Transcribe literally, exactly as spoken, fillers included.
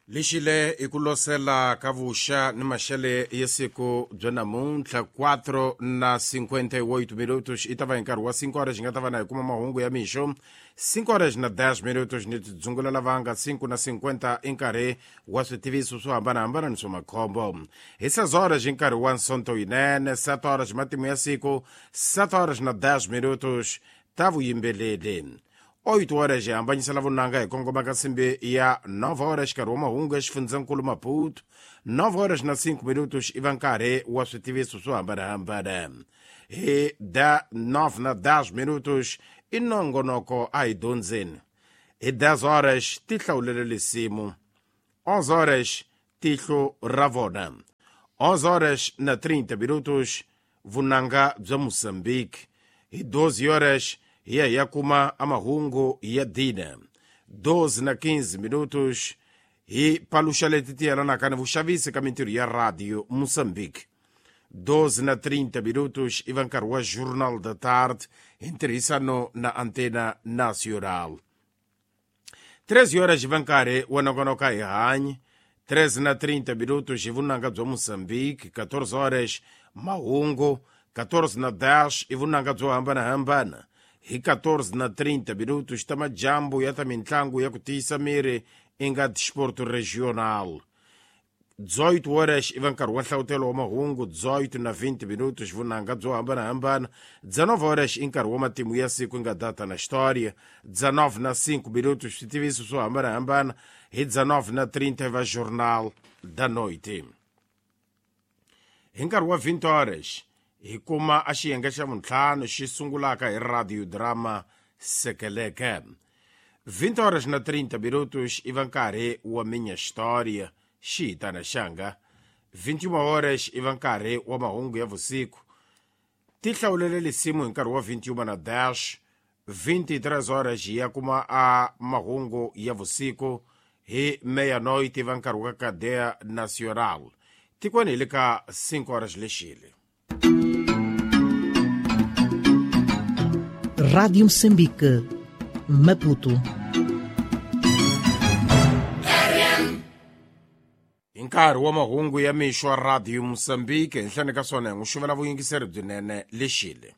Lexile i ku losela ka vuxa ni maxele ya siku bya namuntlha quatro na cinquenta e oito minutos i ta va hi nkarhi wa cinco horas hi nga ta va na hi kuma mahungu ya mixo cinco horas na dez minutos ni tidzungulela lavanga cinco na cinquenta i nkarhi wa switiviso swo hambanahambana ni swa makhombo hi seis horas hi nkarhi wa nsonto yinene sete horas matimu ya siku sete horas na dez minutos ta vuyimbeleri oito horas hi hambanyisela vunanga hi kongoma ka nsimbi ya nove horas nkarhi wa mahungu ya xifundzankulu Maputo nove horas na cinco minutos i va nkarhi wa switiviso swo hambanahambana hi da nove na dez minutos i nongonoko a hi dyondzeni hi dez horas ti hlawulele lisimu onze horas tihlo ra vona onze horas na trinta minutos vunanga bya Mozambique hi doze horas hi ya hi ya kuma amahungu ya dina doze na quinze minutos hi paluxa leti ti yelanaka ni vuxavisi ka mintirho ya radio Mozambique doze na trinta minutos i va nkarhi wa Journal da Tarde hi ntirhisano na Antena Nacional treze horas hi va nkarhi wa nongonoko hi hanyi treze na trinta minutos hi vunanga bya Mozambique quatorze horas mahungu quatorze na dez i vunanga byo hambanahambana hi quatorze na trinta minutos ta majambu ya ta mintlangu ya ku tiyisa miri i nga Desporto Regional dezoito horas i va nkarhi wa nhlawutelo wa mahungu dezoito na vinte minutos vunanga byo hambanahambana dezenove horas i nkarhi wa matimu ya siku i nga data na história dezenove na cinco minutos switiviso swo hambanahambana hi dezenove na trinta i va Jornal da Noite hi nkarhi wa vinte horas hi kuma a xiyenge xa vuntlhanu xi sungulaka hi radio drama Sekeleke vinte horas na trinta minutos i va nkarhi wa Minha História xi hitana xanga vinte e uma horas i va nkarhi wa mahungu ya vusiku ti hlawulele lisimu hi nkarhi wa vinte e uma na dez vinte e três horas hi ya kuma a mahungu ya vusiku hi meia-noite i va nkarhi wa Cadeia Nacional tikweni hi le ka cinco horas lexile. Rádio Moçambique, Maputo. Hi nkarhi wa mahungu ya mixo wa Radio Moçambique henhleni ka swona hi n'wi xuvela vuyingiseri byinene lexile.